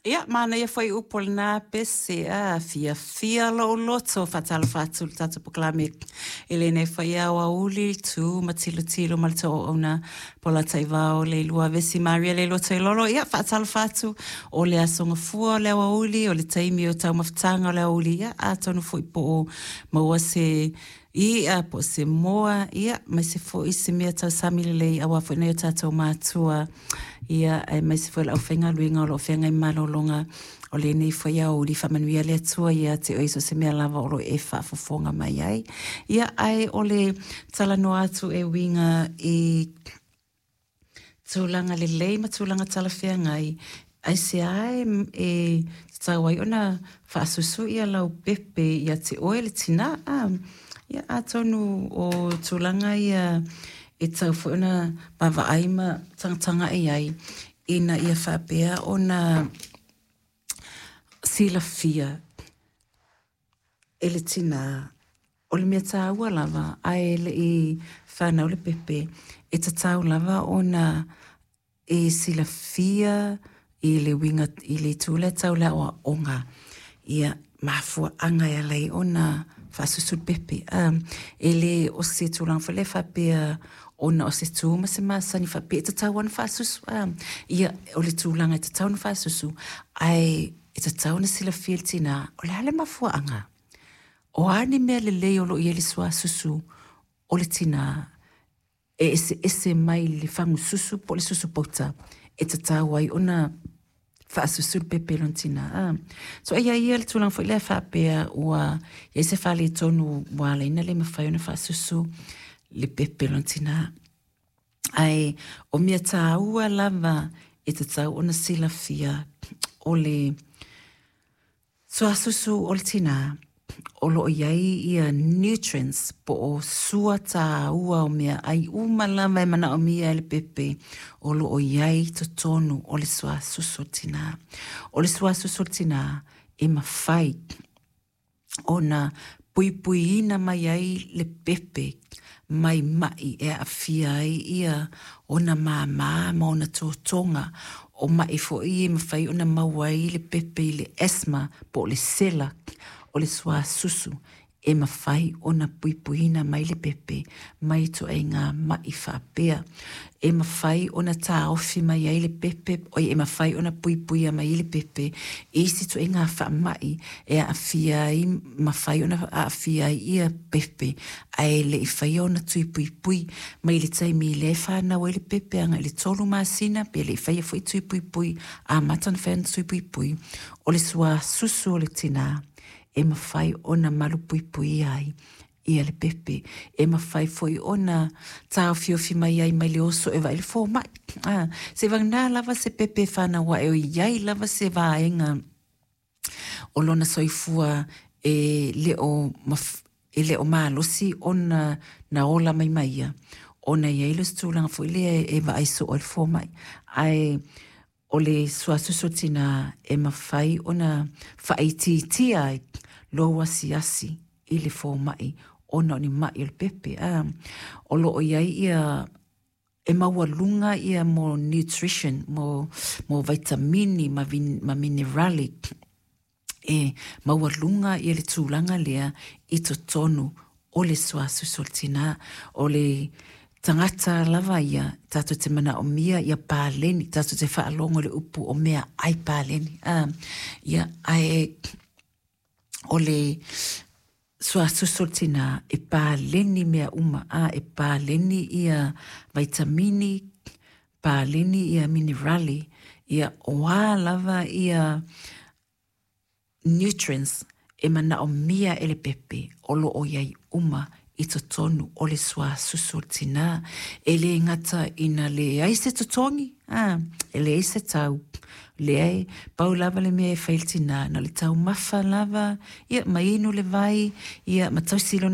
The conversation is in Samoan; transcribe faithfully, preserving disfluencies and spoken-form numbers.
Ia, manaia foi upu o lena pese, a fiafia lou loto. Faatalofa atu le tatou polokalame i lenei foi aoauli, tu ma tilotilo ma le auauna Paula Taivao, Leilua Vesi, Maria Leilua Toilolo. Ia, faatalofa atu o le aso gafua o le aoauli, o le taimi o taumafataga o le aoauli. Ia, atonu foi po o maua se i'a po o se moa, ia, aemaise foi se mea tausami lelei aua foi nai o tatou matua, ia, aemaise foi le aufaigaluega o lo o feagai ma malologa o lenei foi aoauli. Faamanuia le Atua ia te oe i so o se mea lava o lo o e faafofoga mai ai. Ia, ae o le talanoa atu e uiga i tulaga lelei ma tulaga talafeagai, aisea e, e tatau ai ona faasusu ia lau pepe ia te oe le tinā? A, ia, atonu o tulaga ia e tau foi ona vaavaai ma tagatagai ai ina ia faapea ona silafia e le tinā o le mea tāua lava ae le i whanau le pepe, e tatau lava ona e silafia i le uiga i le itu lea tau le aoaoga ia mafuaaga e ala ai ona faasusu le pepe. Um, e le o se tulaga foi lea faapea ona o se tu ma se masani faapea e tatau ona faasusu. Um, ia, o le tulaga e tatau ona faasusu, ae e tatau ona silafia le tinā o le a le mafuaaga. O a ni mea lelei o lo o i ai le suasusu o le tinā e eseese mai le fagususu po o le susu pauta e tatau ai ona faasusu le pepe i lona tinā. Ah. So e iai ia le tulaga foi lea faapea ua i ai se faaletonu ua ala ai ona le mafai ona faasusu le pepe i lona tinā. Ae o mea tāua lava e tatau ona silafia o le suasusu o le tinā o lo o i ai ia nutrients po o sua tāua o meaai uma lava e manaomia e le pepe o lo o i ai totonu o le suasusu o le tinā. O le suasusu o le tinā e mafai ona puipuiina mai ai le pepe mai ma'i e aafia ai ia ona māmā ma ona totoga, o ma'i foi e mafai ona maua ai le pepe i le asthma po o le sela. O le suasusu e mafai ona puipuiina mai le pepe mai ituaiga ma'i faapea. E mafai ona taofi mai ai le pepe, oi e mafai ona puipuia mai ai le pepe i isi ituaiga faamai e aafia ai, mafai ona aafia ai ia pepe ae le i faia ona tui puipui mai le taimi lea e whanau ai le pepe agai i le tolu masina pe le i faia foi tui puipui, amata ona faia ona tui puipui. O le suasusu o le tinā e mafai ona malupuipuia ai ia le pepe, e mafai foi ona taofiofi mai ai mai le oso e vaai le fomai. Ah, se vagana lava se pepe e whanau ae o iai lava se vaega o lona soifua e le o, maf, e le o malosi ona na ola mai mai ia, ona i ai le se tulaga foi lea e vaai soo ai le fomai. Ae o le suasusu o le tinā e mafai ona faaitiitia ai lou asiasi i le fomai ona o ni ma'i o le pepe. Ah, o lo o i ai ia e maualuga ia mo nutrition, mo, mo vitamini ma, vin, ma minerali e maualuga ia le tulaga lea i totonu o le suasusu o le tinā. O le tagata lava ia, tatou te manaomia ia paleni, tatou te faalogo i le upu o meaai paleni. Ah, ia, ae o le suasusu o le tinā e paleni mea uma, a, e paleni ia vitamini, paleni ia minerali, ia o a lava ia nutrients e manaomia e le pepe o lo o i ai uma i totonu o le suasusu o le tinā. E le gata ina leai se totogi, a, e leai se tau, leai, pau lava le mea e fai i le tinā, na o le taumafa lava, ia ma inu le vai, ia ma tausi lona